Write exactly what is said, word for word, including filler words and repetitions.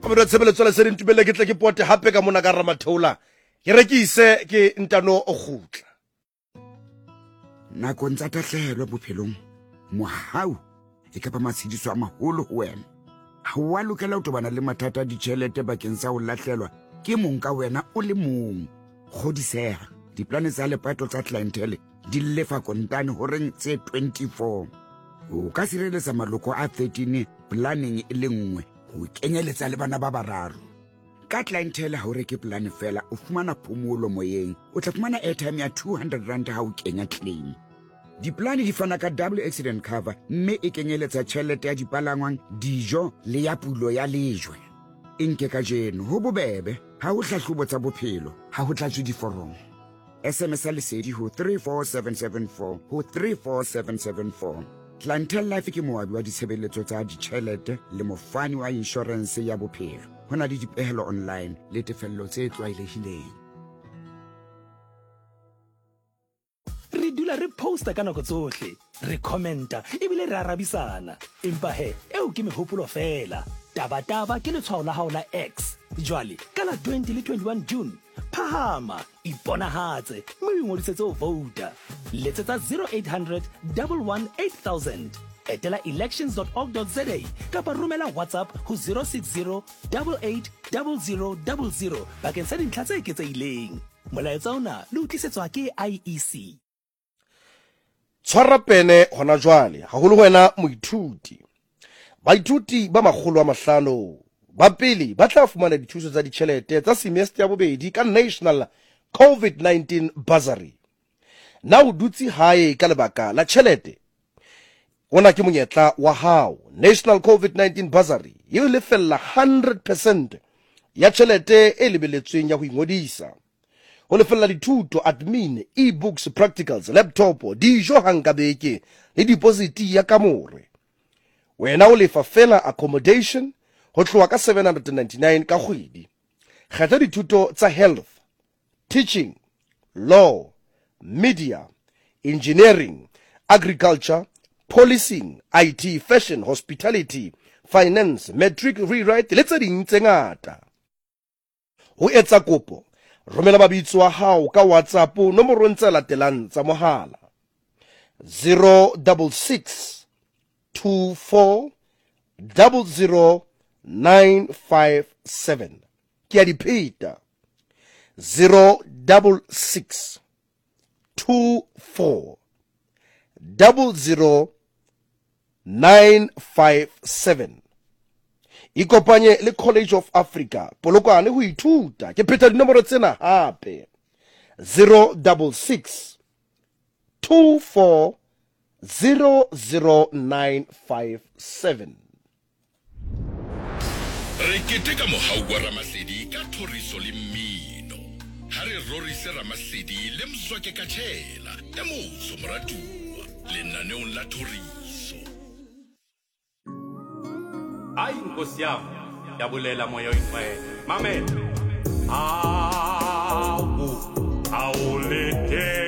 Mamedi wa tshebeletso ya Lesedi, ntumelle ke tle ke pote hape ka mona ka Ramatheola, ke rekise ke ntano o kgutla. Nakong tsa tahlehelo bophelong, mohau e ka ba matshediso a maholo ho wena. Ha o a lokela ho tobana le mathata a ditjhelete bakeng sa ho lahlelwa ke mong ka wena o le mong. Kgodiseha, diplane tsa lepato tsa Clientele di lefa kontane horeng tse twenty-four. O ka sireletsa maloko a thirteen planeng e le nngwe, ho kenyeletsa le bana ba bararo. Ka Clientele ha o reke plane fela, o fumana phomolo moyeng. O tla fumana airtime ya two hundred rand ha o kenya claim. Diplane di fana ka double accident cover, mme e kenyeletsa tjhelete ya dipalangwang, dijo le ya pulo ya lejwe. E nke kajeno, ho bobebe, ha ho hlahlobo tsa bophelo, ha ho tlatswe diforomo. S M S ya Lesedi ho three four seven seven four ho three four seven seven four. Clientele Life ke moabi wa ditshebeletso tsa ditjhelete le mofani wa inshorense ya bophelo. Ho na le dipehelo online le tefello tse tlwaelehileng. Re dula re posta ka nako tsohle, re commenta ebile re arabisana. Empa he, eo ke mehopolo fela. Taba-taba ke letshwao la hao la X. Jwale, ka la twenty le twenty-one June, phahama, iponahatse, mme o ingodisetse ho vouta. Letsetsa zero eight hundred, double one eight thousand. Etela elections dot org dot za kapa romela WhatsApp ho zero six zero, double eight, double zero, double zero bakeng sa dintlha tse eketsehileng. Molaetsa ona le o tlisetswa ke I E C. Tshwara pene hona jwale, haholo wena moithuti. Baithuti ba makgolo a mahlano ba pele ba tla fumana dithuso tsa ditjhelete tsa semester ya bobedi ka National COVID nineteen Bursary. Na o dutse hae ka lebaka la tjhelete? Ona ke monyetla wa hao. National COVID nineteen Bursary e o lefella hundred percent ya tjhelete e lebeletsweng ya ho ingodisa. Ho lefella dithuto, admin, e-books, practicals, laptop, dijo hang ka beke le deposit ya kamore. Wena o lefa fela accommodation ho tloha ka seven hundred and ninety-nine ka kgwedi. Kgetha dithuto tsa health, teaching, law, media, engineering, agriculture, policing, I T, fashion, hospitality, finance, matric rewrite le tse ding tse ngata. Ho etsa kopo, romela mabitso a hao ka WhatsApp nomorong tse latelang tsa mohala: zero double six two four double zero nine five seven. Ke a di pheta: zero double six two four double zero nine five seven. Ikopanye le College of Africa Polokwane ho ithuta. Ke pheta dinomoro tsena hape: zero double six two four zero zero nine five seven. Re keteka mohau wa Ramasedi ka thoriso le mmino. Ha re rorise Ramasedi le Mzwake Katshela e motsho moratuwa lenaneong la thoriso. Ai nkosi yami, yabulela moya oyingcwele. Mamela. Awu, awulinde.